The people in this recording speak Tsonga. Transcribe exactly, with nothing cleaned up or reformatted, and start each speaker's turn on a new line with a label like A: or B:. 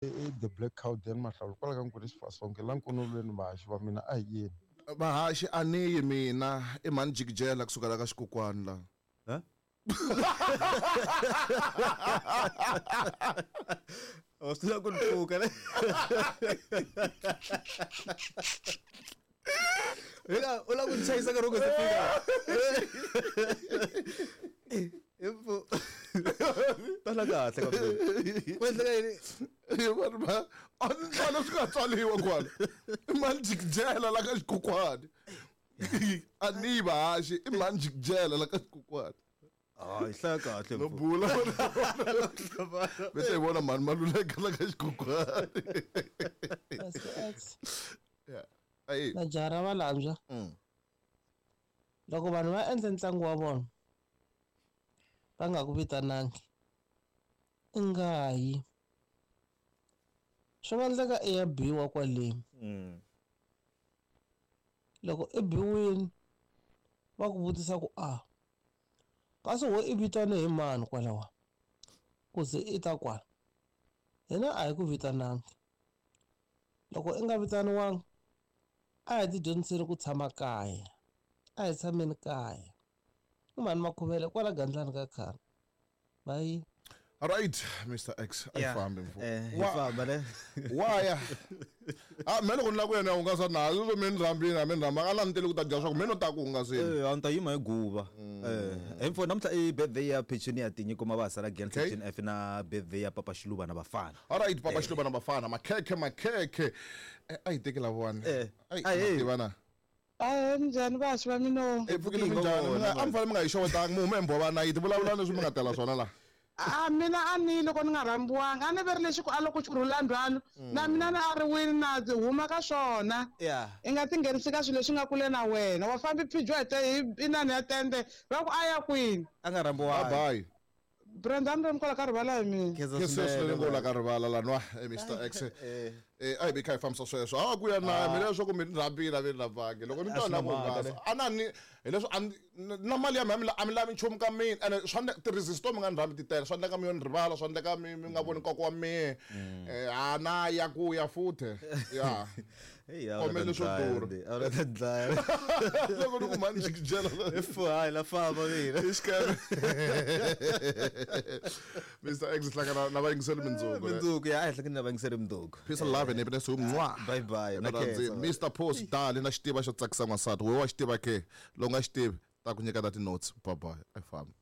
A: I the Black Cow Dan Mahlawula kwala ka Nkweli Xifasonke la nkonolweni vahaxi va mina a hi yeni.
B: Vahaxi a ni yi mina i mhani jikijela kusuka la ka xikokwani la.
C: Ha? O swi tiva ku ni pfuka ne? Hina u lava ku ni chayisa nkarhi wu nga se fika. Impfu. Tala kahle kambe. Ku endleka yini?
B: Vanhu va a ni tlhela swi nga tswaliwa kwala. I mhani jikijela la ka xikokwani. A ni yi vahaxi i mhani jikijela la ka xikokwani.
C: Ah, hi hlaya kahle
B: No
C: mfo.
B: bula. Bese hi vona mhani Maluleka la ka xikokwani.
D: Pastor X.
B: Yeah. Ayi.
D: Majaha ra Valambya.
B: Mm.
D: Loko vanhu va endla ntlangu wa vona va nga ku vitanangi i nga yi. Swi nga endleka i ya biwa kwaleni.
C: Mm.
D: Loko i biwile va ku vutisa ku a kasi wo i vitane hi mani kwalawa ku ze i ta kwala. Hina a hi ku vitanangi. Loko i nga vitaniwanga a hi tidyondziseni ku tshama kaya. A hi tshameni kaya. I mhani Makhuvele kwala Gandlani ka khale. Bye.
B: All right, Mister X, a hi
C: Yeah.
B: fambi mfo.
C: Eh, hi
B: Wa-
C: famba ne?
B: Waya. Ah, me loko ni lava ku yena hungasa na, leswo mi ni rhambile, a mi ni rhambanga, a na ni tele ku ta dya swa ku me no ta ku hungaseni.
C: Eh, a ni ta yima hi guva. Eh, hi mfo namuntlha i birthday ya Petunia ya Tinyiko Mabasa la Glen
B: Okay.
C: Section F na birthday ya Papa Xiluva na Bafana.
B: All right, Papa
C: Eh.
B: Xiluva na Bafana, makhekhe makhekhe. Eh, a hi teki lavawani.
C: Eh.
B: Ai,
C: Ai, eh.
B: tiva na.
E: Ahee, minjhani vahaxi va mina?
B: Eh, pfukile minjhani? Mi nga- a mi fanele mi nga hi xewetanga, mi hume hi mbhova na yiti, vulavula leswi mi nga tela swona la.
E: A mina a ni loko ni nga rhambiwanga, a ni ve ri lexi ku a loko xi rhula ndhwalo, na mina na a ri wini na ndzi huma ka swona.
C: Yeah.
E: I nga tinghenisi ka swilo leswi nga kule na wena. Wa fambi phijiwa hi te hi inani ya tende, va ku a ya kwini?
C: A nga rhambiwanga.
B: Bye bye.
E: Brenda, ni ri kwala ka rivala hi mina.
C: Khensa
B: Khensa
C: swinene,
B: swinene ngo la
C: va.
B: ka rivala la nwa, eh, Mister X.
C: Eh.
B: Eh, a hi vi kha hi fambisa sweswo. A ku ya na mina leswaku mi ni rhambile a mi ni rhambangi. Loko ni
C: A
B: twa
C: swi
B: na
C: na
B: ku
C: mhaka,
B: hungasa.
C: ne?
B: A na ni, hileswo a ni, na mali ya mina a mi la-, a mi lavi nchumu ka mina. Ene swa endleka, ti-resist to mi nga ni rhambi ti tele. Swa endleka mi yo ni rivala, swa endleka mi, mi nga voni nkoka wa mina.
C: Mm.
B: Eh, a na ya ku ya futhe. Ya.
C: Hey, a wu
B: Khomele
C: ta
B: swo
C: dlaya,
B: durha.
C: ndi. A wu ta dlaya.
B: Loko ni ku mhani jikijela.
C: If hayi la famba mina.
B: I xikele. Mister X hlangana na vayingiseri mindzuku.
C: Mindzuku, ya, a hi hlangana na vayingiseri mindzuku.
B: Peace and love and happiness. Mwah.
C: Bye bye. Na
B: Na khensa.
C: khensa.
B: Mister Post dali na xitiva xo tsakisa n'wansati. Wehe wa xitiva ke? Loko nga xi tivi, ta ku nyika ta ti-notes. Bye bye. I famba.